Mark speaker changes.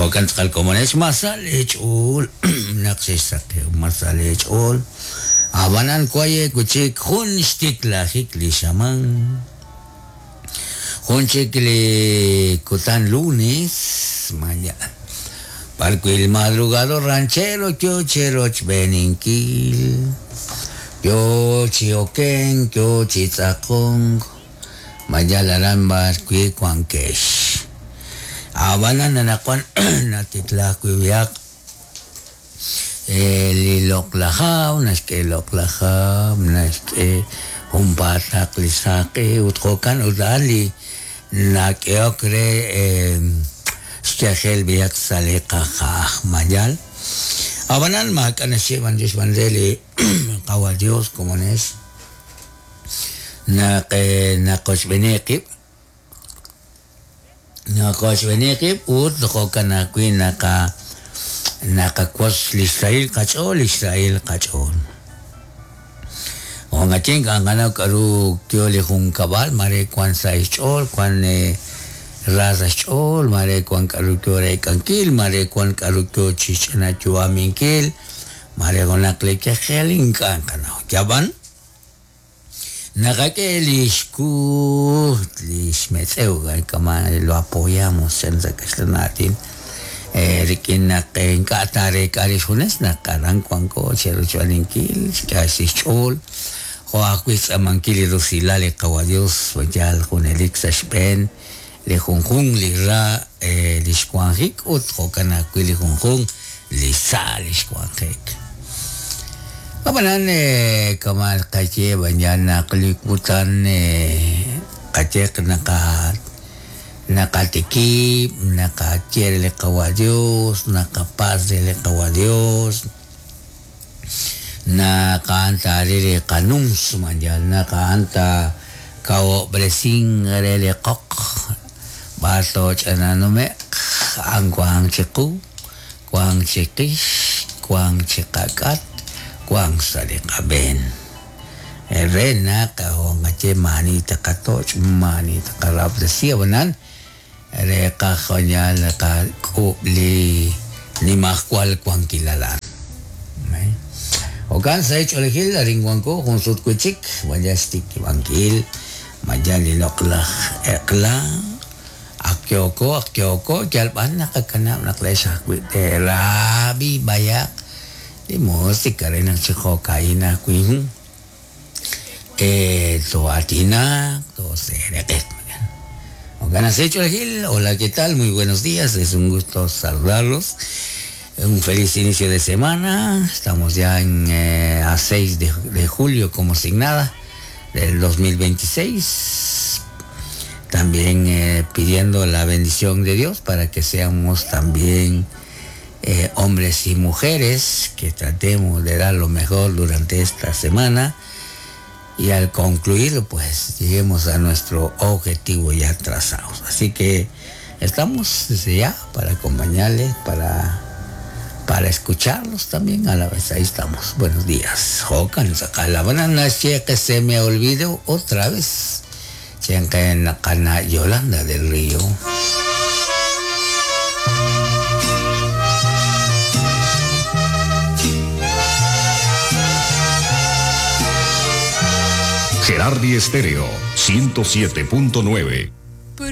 Speaker 1: Jo'kan tz'aqal komonex ma sa leech'ool naq xexsaqew ma sa leech'ool ab'anan waye wi' chik jun xtiklajik li xamaan jun chik li kutan lunes maya b'arwi' el madrugador ranchero yo cherochb'eeninkil yo chi okenk yo chi tz'aqonk ma yal aran b'arwi' wankex. Ab'anan anaqwan natiklaak wi' b'ihaq li loq'laj hab', naxk'e loq'laj hab', naxk'e junpaataq li saq'e ut jo'kan ut a'an li nak'ehok re xyajel b'ihaq sa' li qaja'aj mayal. Ab'anan maak'a' naxye b'anyox b'an re li Qawa' Dios komonex. Naq naqochb'eeni qib', naqochb'eeni qib' ut jo'kan ajwi' naqa naqawotz li xsahil qach'ool, li xsahil qach'ool. Jo'kan ink'a' naqanaw k'a'ru yo li junkab'al, mare wan sa' xch'ool, wan ra sa' xch'ool, mare wan k'a'ru yo reek'ankil, mare wan k'a'ru yo chi xch'inayu'aminkil, mare junaq li yajel ink'a' naqanaw. Yab'an naqak'e li xkuut li xmetz'ew kama' lo apoyamos chan sa' kaxlan aatin rik'in naq ink'a' taareek'a rix junes naq aran wanko cherochb'eeninkil xk'e xch'ool jo' ajwi' xtz'aamankil li rusilal li Qawa' Dios yaal junelik sa' xb'een li junjunq li ra li xwanjik ut jo'kan ajwi' li junjunq li sa li xwanjik. Ab'anan kama' qaye b'an naq li kutan qayeq naqa naqatikib' naqaye re li Qawa' Dios naqapatz' re li Qawa' Dios naq a'an taaril li qanums mayal naq a'an taakawob'resink re li qoq b'ar tooch'ananume'q a'an wank chiqu wank chiqix wank chiqak'at wank sa' li qab'een re naq qaye maani taqatoch' maani taqarahob'tesi ab'anan re qajonyal qak'uub' li nimajwal wankilal a'an. Jo'kan sa' xch'oolejil arin wanko jun sut wi' chik maya xtikib'ankil maya li loq'laj eq'la ak yooko ak yooko yal b'an naqakanab' naq leex ajwi' teerab'i b'ayaq li musika re naq chi jo'ka'in ajwi' too'aatinaq tooseeraq'iq. Jo'kan sa' xch'oolejil hola qué tal muy buenos días es un gusto saludarlos un feliz inicio de semana estamos ya en a 6 de julio como sin nada del 2026 también pidiendo la bendición de Dios para que seamos también hombres y mujeres que tratemos de dar lo mejor durante esta semana y al concluirlo pues lleguemos a nuestro objetivo ya trazado. Así que estamos desde ya para acompañarles, para escucharlos también a la vez. Ahí estamos. Buenos días. Jo'kan tz'aqal ab'anan naxye que se me olvidó otra vez. Chan Yolanda del Río.
Speaker 2: Gerardi Estéreo 107.9.